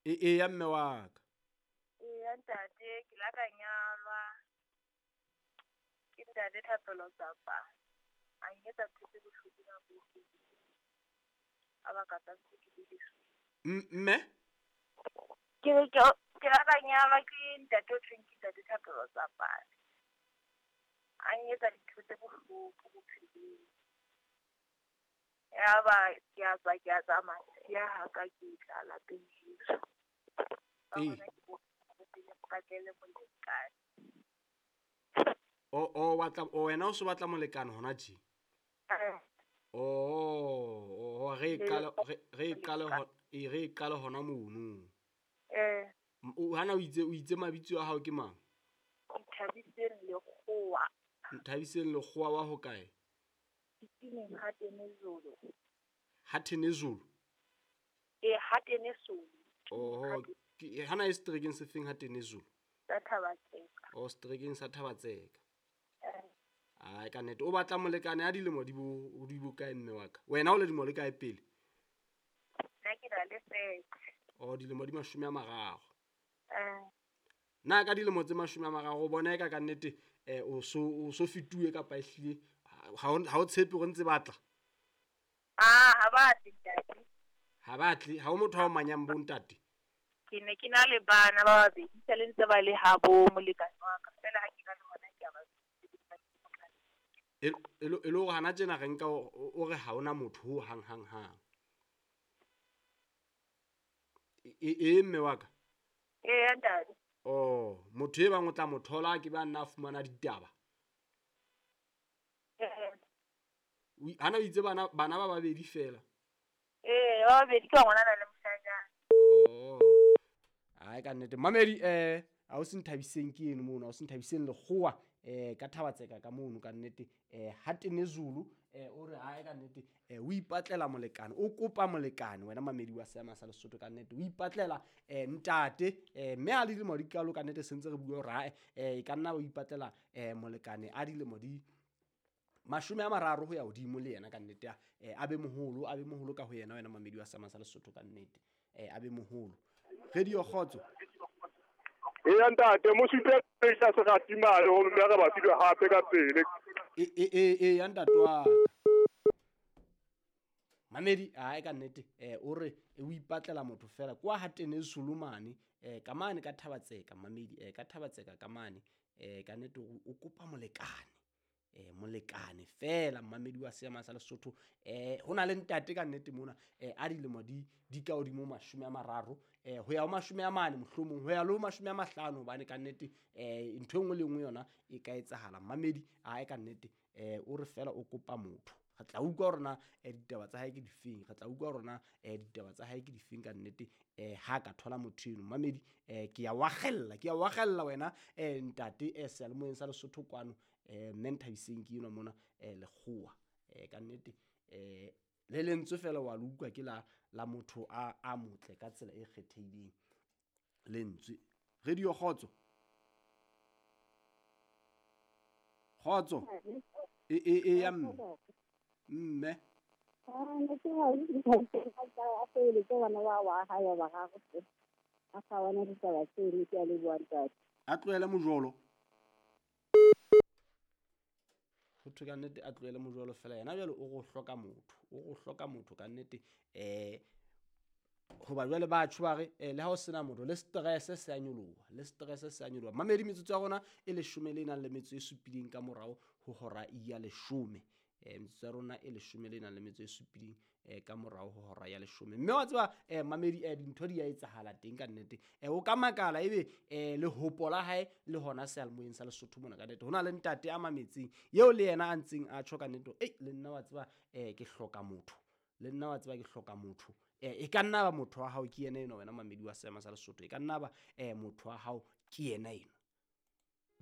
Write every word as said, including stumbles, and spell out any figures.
E e ya mme wa ka. Eya ntate, ke la ka nyalwa ke ntate Thapelo Tsapa. A nketsa ntho tse bohloko nako e telele. Ka baka tsa ntse ke le M- Mme? Ke re ke ke la ka nyalwa ke ntate o thweng ke ntate Thapelo Tsapa. A nketsa dintho tse bohloko bophelong. Yaba ke a tswa ke a tsamaya, siya ha ka ke tla lapeng heso. Ka Ee. hona ke bona pele mpatlele molekane. O o batla o wena o so batla molekane hona tje? Eh. Oh, oh re e qale re re e qale ho e re e qale hona mono. Eh. O hana o itse o itse mabitso a hao ke mang? Nthabiseng Lekgowa. Nthabiseng Lekgowa wa hokae? Titineng ha Tenezulu. Ha Tenezulu? E ha Tenezulu. Oho, ke hana e seterekeng se feng ha Tenezulu? Sa Thabatseka. O seterekeng sa Thabatseka. Eh. Ai ka nnete o batla molekane a dilemo di bo di bo kae mme wa ka? Wena o le dilemo le kae pele? Nna ke na le thirty. O dilemo di mashome a mararo. Eh. Na ka dilemo tse mashome a mararo o bona eka ka nnete eh o so o so fetuwe kapa ehlile ha o ha o tshepe hore ntse batla? Ah, ha ba tle ntate. Ha ba tle, ha o motho a o manyang bo ntate. Ke ne ke na le bana ba babedi se le ntse ba le habo molekane wa ka. Fela ha ke na le hona ke a ba E e le e le hore hana tjena re nka o re ha ona motho ho hang hang hang. E e mme wa ka? Ee ntate. Oh, motho e bang o tla mo thola ke ba nna a fumana ditaba. Eh. O hana o itse bana bana ba babedi fela. Eh, ba babedi ke ngwana le moshanyana. Oh. Ai ka nnete. Mamedi eh a o se Nthabiseng ke eno mono, a o se Nthabiseng Lekgowa eh ka Thabatseka ka mono ka nnete eh ha Tenezulu eh o re ai ka nnete eh o ipatlela molekane, o kopa molekane wena mamedi wa seema sa Lesotho ka nnete o ipatlela eh ntate eh mme a le dilemo di kalo ka nnete sentse re bua hore ae eh e ka nna o ipatlela eh molekane a dilemo di mashome a mararo ho ya hodimo le yena ka nnete eh a be moholo, a be moholo ka ho yena wena mamedi wa seema sa Lesotho ka nnete eh a be moholo. Radio Kgotso. Eya ntate, mo supe sa se ratimale ho mme re ba filwe hape ka pele. E e e e ya ntate wa Mamedi ai ka nnete eh o re o ipatlela motho fela kwa ha Tenezulu mane eh ka mane ka Thabatseka mamedi eh ka Thabatseka ka mane eh ka nnete o kopa molekane eh molekane fela mamedi wa seema sa Lesotho eh hona le ntate ka nnete mona eh a dilemo di di ka hodimo mashome a mararo eh ho ya ho mashome a mane mohlomong ho ya le ho mashome a mahlano hobane ka nnete eh ntho e nngwe le nngwe yona e ka etsahala mamedi ai ka nnete eh o re fela o kopa motho. Re tla utlwa hore na ditaba tsa hae ke difeng, re tla utlwa hore na ditaba tsa hae ke difeng ka nnete eh ha ka thola motho eno mamedi eh ke ya wakgella ke ya wakgella wena eh ntate eh seyalemoyeng sa Lesotho kwano eh mme Nthabiseng ke eno mona eh Lekgowa eh ka nnete eh le lentswe fela wa le utlwa ke la la motho a a motle ka tsela e kgethehileng lentswe. Radio Kgotso. Kgotso. E e e ya mme. Mme. Ah, ne ke ha ke a pele ke bana ba wa ha ya ba ga go. A sa bona ditaba tse ne ke a le bua ntate. A tlohele mojolo. Ho thwe ka nnete a tlohele mojolo fela yena jwale o go hloka motho, o go hloka motho ka nnete eh hoba jwale batho ba re le ha o sena motho le stress se a nyoloha, le stress se a nyoloha. Mamedi metsotso ya rona e leshome le nang le metso e supileng ka morao ho hora ya leshome. Eh metsotso ya rona e leshome le nang le metso e supileng eh ka morao ho hora ya leshome. Mme wa tseba eh mamedi eh dintho di a etsahala teng ka nnete. Eh o ka makala ebe eh le hopola hae le hona seyalemoyeng sa Lesotho mona ka nnete. Hona le ntate a mametseng eo le yena a ntseng a tjho ka nnete, ei le nna wa tseba eh ke hloka motho. Le nna wa tseba ke hloka motho. Eh e ka nna ba motho wa hao ke yena eno wena mamedi wa seema sa Lesotho. E ka nna ba eh motho wa hao ke yena eno.